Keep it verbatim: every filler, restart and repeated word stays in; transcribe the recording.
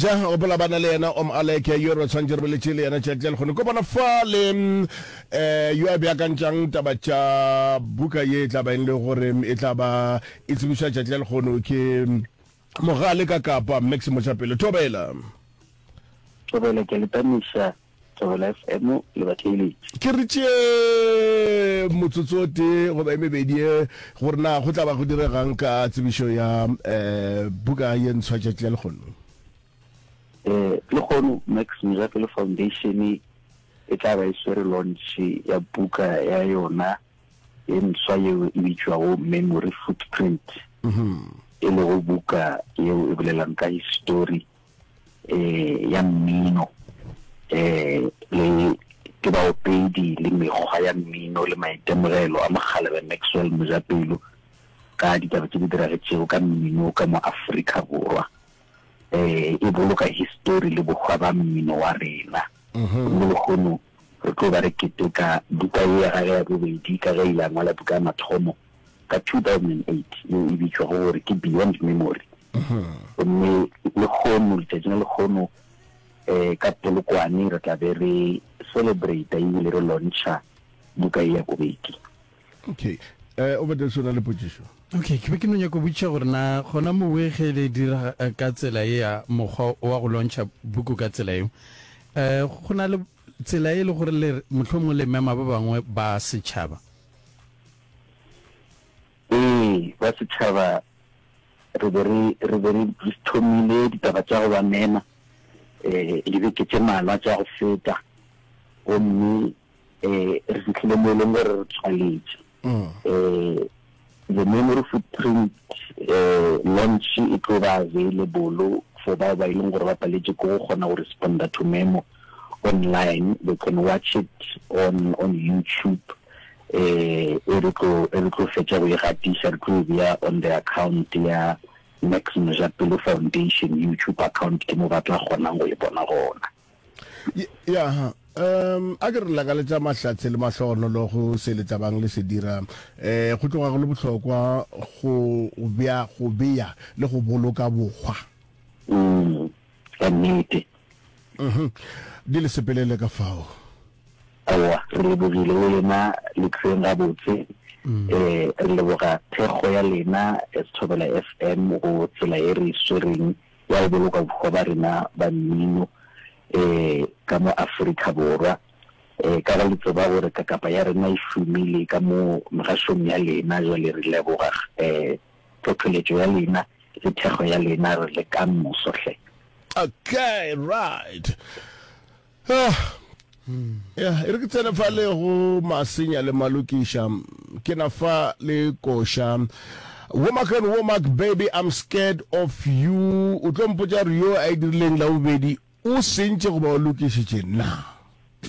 Ja, gopola ba na le yena Om Aleke yo re tshwanetse re boletše le yena tšatši la lekgono. Kopana fa le um yo a beakantšang taba tša buka ye e tla ba eng le gore e tla ba e tsebišwa tšatši la lekgono ke Mogale ka Kapa, Max Mojapelo. Thobela. Thobela, ke a le tamiša. Thobela F M le batheeletši. Ke re tšee motsotso o tee goba e mebedi ye gore na go tla ba go diregang ka tsebišo ya buka ye ntshwa tšatši la lehono. Lehono Max Mojapelo Foundation e tla ba e swere launch ya buka ya yona ye ntshwa yeo e bitšwago Memory Footprint, e lego buka yeo e bolelang ka histori eh, ya mmino eh, le ke baopedi le mekgwa ya mmino le maitemogelo a mokgalabje Maxwell Mojapelo ka ditaba tše di diragetšego ka mmino ka mo Afrika Borwa. Eh, e boloka histori le bohwa ba mmino wa rena. Gomme lehono re tlo ba re keteka buka ye ya gage ya bobedi ka ge ile a ngwala buka ya mathomo ka two thousand and eight yeo e bitšwago gore ke Beyond Memory. Gomme lehono, letšatšing la lehono um ka Polokwane re tla be re celebrate ebile re launcha buka ye ya bobedi. Okay, um o bete sona le potšišo. Okay, ke be ke no nyaka go botšiša gore na gona mowe ge le dira ka tsela ye ya mokgwa wa go launcha buku ka tsela yeo, um go na le tsela e le gore le mohlomongwe le mema ba bangwe ba setšhaba? Ee, ba setšhaba re be re re be re thomile ditaba tša go ba mema um dibeke tše malwa tša go feta, gomme um re fihlile mo e leng gore re tswaletše um The Memory Footprint um launch e tlo ba available for bao ba e leng gore ba paletše ke go kgona go responda to memo online. They can watch it on on YouTube. eh e re tlo e re tlo fetša go e gatiša, re tlo e bea on the account ya Max Mojapelo Foundation YouTube account, ke mo ba tla kgonang go e bona gona. Ya, um a ke re lakaletša mahlatse le mahlogonolo go se le tlabang le se dira. um go tloga go le bohlokwa go bea go bea le go boloka bohwa. mm ka nnete. Mhm di le sepelele ka fao. Aowa, re lebogile le lena le tleng gabotse. um Re leboga thekgo ya lena as Thobela F M go tsela e re e swereng ya go boloka bohwa ba rena ba mmino um ka mo Afrika Borwa. um Ka ge le tseba gore kakapa ya rena e šomile ka mo megašong ya lena, jwale re leboga um tlhohleletšo ya lena le thekgo ya lena. Re le ka moso hle. Okay, right. Ah, ya e re ke tsene fa le go Masenya le Malokiša, ke na fa le koša Womack and Womack, "Baby, I'm Scared of You". O tlo mpotša gore yo a e dirileng la bobedi o sentše goba o lokišitše na?